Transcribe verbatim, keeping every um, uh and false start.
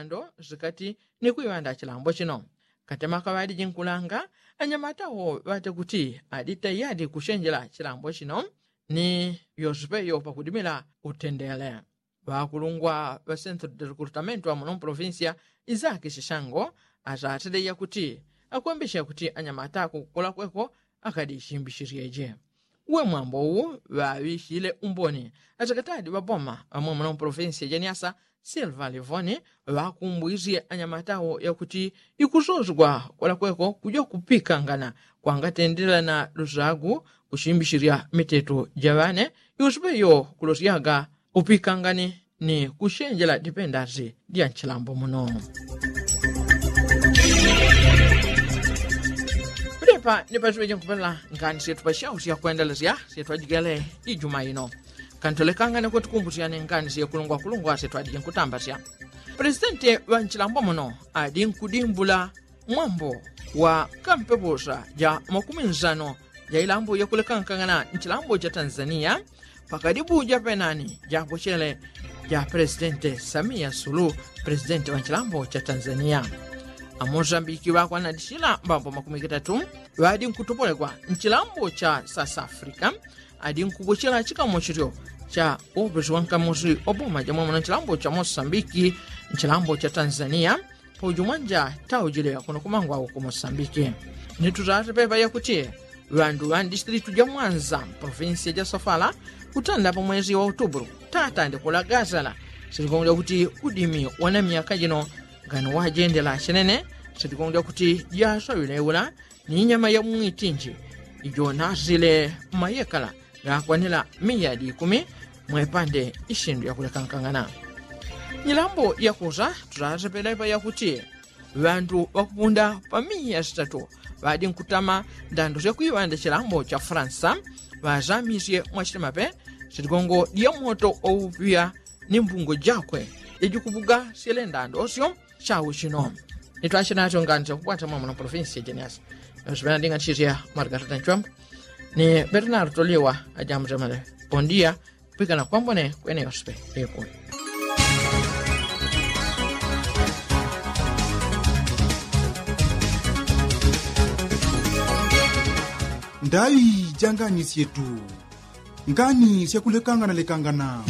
ndo zikati ni kuiŵanda chilambo chino. Katemaka ŵadiji nkulanga anyamata wo ŵate kuti adi tayadi kuchenjela chilambo chino ni yosipeyo pakudimila utendele. Ŵakulungwa ŵa sentro de rekrutamentu ŵamuno mpolovinsiya izaki shishango azateleya kuti akwembesha kuti anyamata kukukola kweko akadi chimbishilyeje. Uwe mwambo uwu ŵaŵishile umboni aseketadi ŵaboma ŵamwe muno mpolovinsiya janiasa silva livoni ŵakumbwisye anyamata wo yakuti ikusozgwa kwalakweko kuja kupikangana kwangatendela na lusagu kuchimbishilya miteto jaŵane yusupe yo kulosyaga upikangani ni kuchenjela dipendasi dya nchilambo muno. Kudepa ni pasuŵe jinkupela ngani syetu pasyausya kwendelesya syetu ajigele ijuma ino. Kantolekangane kwetu kumbusyane ngani syekulungwakulungwa syetu adiji nkutambasya. Pulesidenti ŵa nchilambo muno adi nkudimbula mwambo wa kampeposa ja makumi nsano ja ilambo yakulekangana nchilambo cha tanzania pakadibu ja penani ja pochele ja presidente samia sulu presidente wa nchilambo cha tanzania. Amosambiki ŵakwanadishila mbambo makumi kitatu ŵadi nkutopolekwa nchilambo cha sas africa adi nkupochela chikamochilyo cha opesi wa nkamosi oboma jamwamuna nchilambo cha mosambiki nchilambo cha tanzania. Paujumwanja taujileka kuno kumangwa uku mosambiki. Ni tutate pepa yakuti ŵandu ŵa ndistilitu ja mwanza mpolofinsiya ja sofala kutanda pamwezi wa utubulu tatande kulagasala. Sitikongelya kuti udimi wana myaka jino ngani wajendela chenene. Sitikongelya kuti jasawile ula ni nyama ya mwitinji ijo nasile mayekala gakwanila miyadi ikumi mwepande ishindu yakulekankangana. Nyilambo yakusa tutasepelepa yakuti ŵandu ŵakupunda pa miya sitatu ŵadi nkutama ndando syakuiŵanda chilambo cha fransa ŵazamisye mwachitemape sitigongo dya moto oupiya ni mbungo jakwe ijikupuga syele ndando syo. Chau chino nitwachinacho ngani chakukwata mwamuna provinsi ya jeniasi yosipena ndinga ntchitya margarita nchwamba ni bernardo liwa ajambutemale. Pondiya pikana kwambone kwene yosipe. Ekuwe ndaŵi ja ngani syetu ngani syakulekangana lekangana.